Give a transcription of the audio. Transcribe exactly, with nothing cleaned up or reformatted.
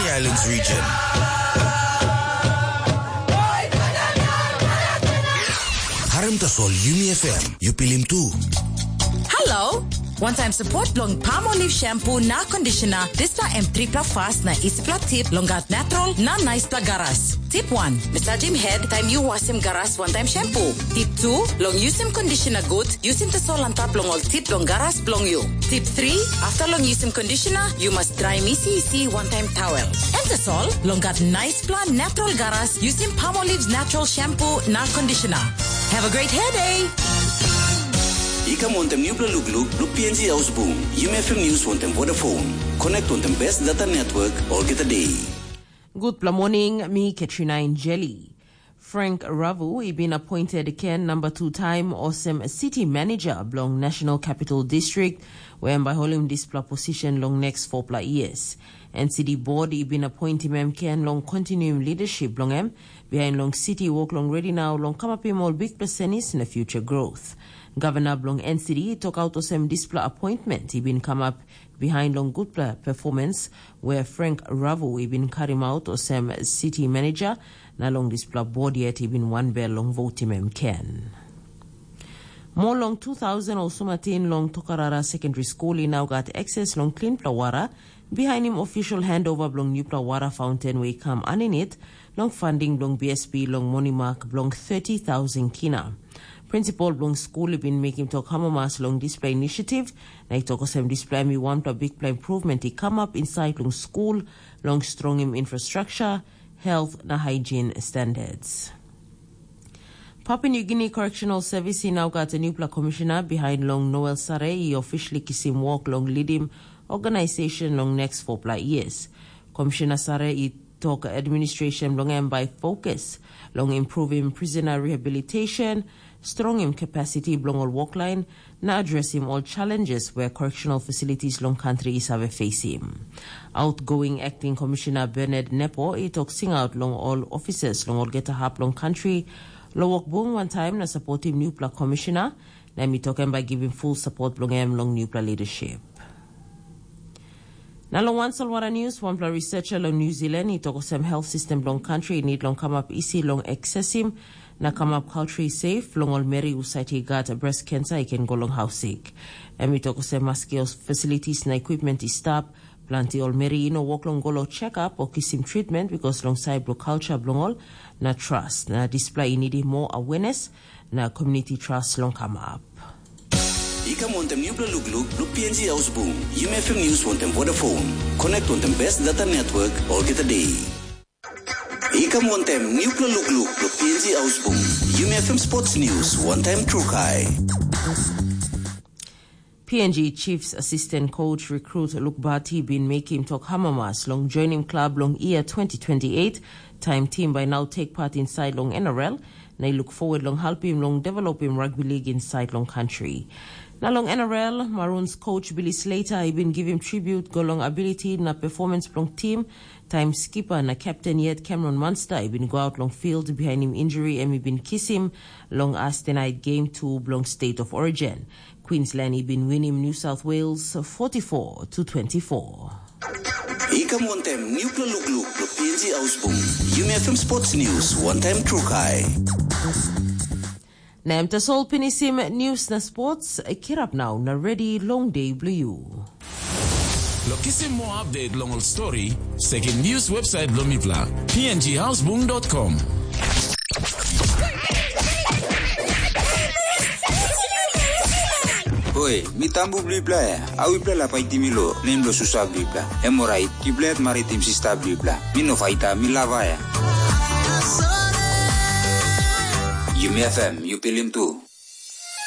Islands region. Harim tasol Yumi F M, yu pilim tu. Hello. One time support long Palmolive shampoo na conditioner. Dispela em tripla fast na isipla tip long gat natural na naispela garas. Tip one. Massage him head time you wash him garas one time shampoo. Tip two. Long use him conditioner good. Yusim tasol antap long ol tip long garas bilong yu. Tip three, after long yusim conditioner, yu mas draim isi isi wantaim towel. Em tasol, long gat naispela natural garas, yusim Palmolive's natural shampoo na conditioner. Have a great hair day! I kam wantem nupela lukluk, luk P N G Ausbung, Yumi F M News wantem Vodafone. Connect wantem best data network, olgeta day. Gutpela morning, mi Katrina Injeli. Frank Ravu i bin appointed Ken number two time olsem city manager bilong National Capital District, where em bai holim dispela position long next four pla years. N C D board i bin appointim em Ken long continuim leadership bilong em, behind long city work long ready now long kamapim ol bikpela senis na future growth. Governor bilong N C D i tok out olsem dispela appointment i bin kamap behind long gutpela performance where Frank Ravu i bin karim out olsem city manager, na long dispela board yet i bin wanbel long votim em Ken. Mo long two thousand ol sumatin long Tokarara Secondary School i nau gat access long cleanpela wara, bihainim official handover bilong nupela wara fountain we i kam aninit long funding bilong B S P long monimak bilong thirty thousand kina. Principal bilong skul i bin mekim tok amamas long dispela inisiativ, na i tok olsem dispela em i wanpela bikpela improvement i kamap insait long skul, long strongim infrastructure, health na hygiene standards. Papua New Guinea Correctional Service i nau gat nupela komishina behind long Noel Sare i officially kisim wok long lidim organization long next four pla years. Komishina Sare i tok administration bilong em bai fokus long improvim prisoner rehabilitation, strongim capacity bilong ol woklain, na adresim ol challenges where correctional facilities long country i save facing. Outgoing acting commissioner Bernard Nepo i tok singaut long ol officers long olgeta hap long country, lo wok bung wantaim na supportim nupela commissioner, na em i tok em bai givim full support bilong em long nupela leadership. Na long wan solwara news, wanpela researcher long New Zealand i tok olsem health system bilong country i need long kamap isi long accessim na kamap culturally safe long ol meri husat i gat breast cancer i ken go long hausik. Em i tok olsem maski ol facilities na equipment i stap, planti ol meri i no wok long go long check-up o kisim treatment because long side bilong culture bilong ol na trust, na dispela i nidim more awareness na community trust long kamap. I kam wantem nupela lukluk, luk P N G Ausbung, Yumi F M News wantem Vodafone. Connect wantem best data network, olgeta day. I kam wantem nupela lukluk, luk P N G Ausbung, Yumi F M Sports News wantem Trukai. P N G Chiefs Assistant Coach Recruit Luke Bati bin mekim tok hamamas long joinim klab long year twenty twenty-eight, taim tim bai nau take part inside long N R L, na i look forward long helpim long developim rugby league inside long country. Na long N R L, Maroons coach Billy Slater i bin givim tribute go long ability na performance bilong tim, taim skipper na captain yet Cameron Munster i bin go out long field bihainim injury em i bin kisim long Thursday night game two bilong State of Origin. Queensland i bin winim New South Wales forty-four to twenty-four. I kam wantem nupela lukluk lo P N G Ausbung. Yumi F M Sports News, wantaim Trukai. Na em tasol pinisim news na sports, kirap nau na ready long day bilong you. Lo kisim more update long ol story, sekim news website bilong mipela, P N G ausbung dot com. Hoi, mi tambu bilipela ya. Au ipela la paitim mi lo nem lo susa bilipela. Em orait, ipela yet maritim sista bilipela. Mi no faita, mi lava ya. Yumi F M, yu pilim tu.